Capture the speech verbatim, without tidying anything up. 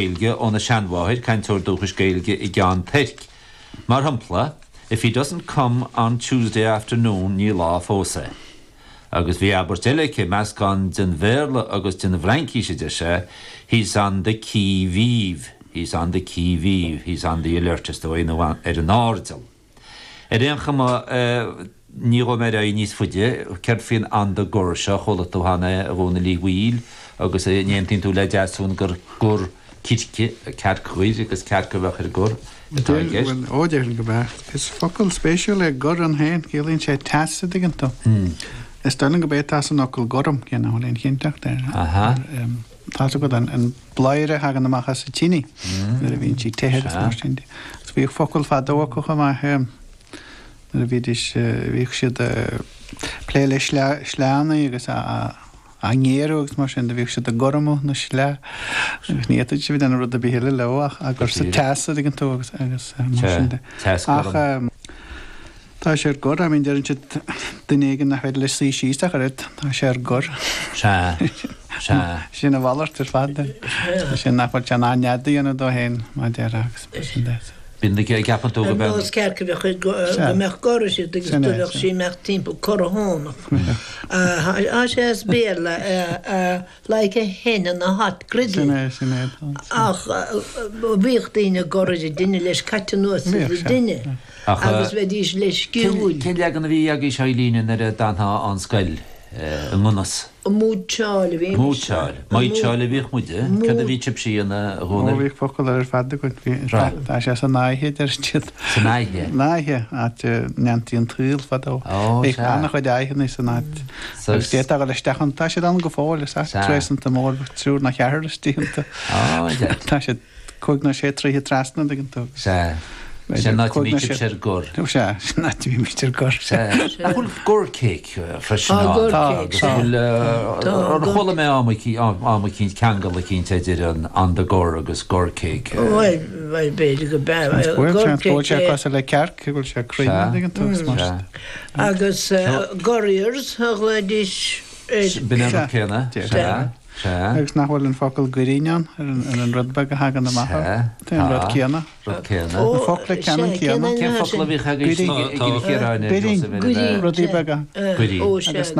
Gaeilge óna seanmháthair cainteoir dúchais Gaeilge i gCeann Toirc. Mar shampla, if he doesn't come on Tuesday afternoon ní lá fós é. Agus bhí abairt eile aici meascán den Bhéarla agus den bhFraincis de sé, he's on the qui vive, he's on the qui vive, he's on the alert is dóigh nó ar an airdeall. Ar aon chuma ní raibh mé níos faide céard faoin on the gor seo chuala tú cheana a Dhónaill Uí Bhaoill agus aontaíonn tú le Deasún gur gur circe cearc ghoir agus cearc a bheadh ar gor atá i gceist. Ó déarfainn go b'ea. Is focal spéisiúil é gor ann féin, ciallaíonn sé teas a dtuigeann tú. Is dóigh liom go b'é atá san fhocal gorm, cé nach bhfuil aon chinnteacht air. Aha. Tá agat an, an bladhaire a thagann amach as an tine nuair a bhíonn sí te agus mar sin de. Agus bhíodh focal fadó acu chomh maith nuair a bhídís bhíodh siad plé le sleánna agus a a ngéarú agus mar sin de bhíodh siad ag gormú na sleá agus ní fhéadfaidís a bheith ag déanamh rud ar bith eile leo ach á gcur sa teas a dtuigeann tú agus agus mar sin de. Teas Ach gorm. tá sé ar gor, I mean deireann siad duine éigin nach féidir leis suí síos ach oiread, tá sé ar gor. Sea, sea. Sin a mhalairt ar fad. Sin nach bhfuil sé in ann nead a dhéanamh dó féin mar a déarfá agus mar sin de. Bíonn na gceapann tú go Ar mbeadh. nós cearc a bheadh go mbeadh gor siad agus Sin do é, bheadh sin. sí imeacht timpeall corrathónach. Tá sé as Béarla like a hen in a hot griddle. Sin é, sin é. Ach bhíodh daoine gor ar an dtine leis caite anuas ar Bhíodh an sé. dtine Ach, agus bheidís leisciúil. Cén leagan a bhí agaibh Eileen nuair a d'fhanfá ón scoil i nGonas? Múitseáil a bhí. Múitseáil. Múitseáil a bhíodh muide. Cad a bhí sibhse ina Ó Dhónaill? bhíodh focal ar fad againn. Bhí Right. tá sé san áithe deir siad. San áithe? Náithe, áit a ndéantaí an tuill fadó. Ó, Bhíodh sea. an-chuid áitheanna san áit. So Agus d'fhéadfá dul isteach ann, tá siad ann go fóill, is áit Sea. trésanta mór, triúr nó ceathrar istigh iontu. Ó, yeah. Tá siad cúig nó sé troithe trasna ag an tú. Sea. Sin áit a Cúig nó mbí sé- sibhse ar gor. Ó, sea, sin áit a bhímid ar gor. Sea. Nach bhfuil gor cake freisin Tá ann? gor Tá, cake, Agus sea. bhfuil Tá ar gor- chuala mé am am eicínt ceangal eicínt idir an on the gor agus gor cake. Bhuel, bhuel, b'fhéidir go b'ea. Bhfuil Gor sé bhfuil sé cake, cosúil le cearc, go bhfuil sé cruinn Sea. ag an tú. Sea. Agus gurriers a ghlaoidís ar B'in an Sea. rud céanna. Sea. Sea. Sea. Agus nach bhfuil an focal goirín ann ar an ar an rud beag a thagann amach Sea. air. Tá an rud Tá. céanna. Rud céanna. Ó, Na focla ceannann sea, céanna. Cén focal a bhíodh agaibh Goirín. i gCill Chiaráin Goirín. Goirín. Rudaí beaga. Eh, Goirín. Ó, sea. Agus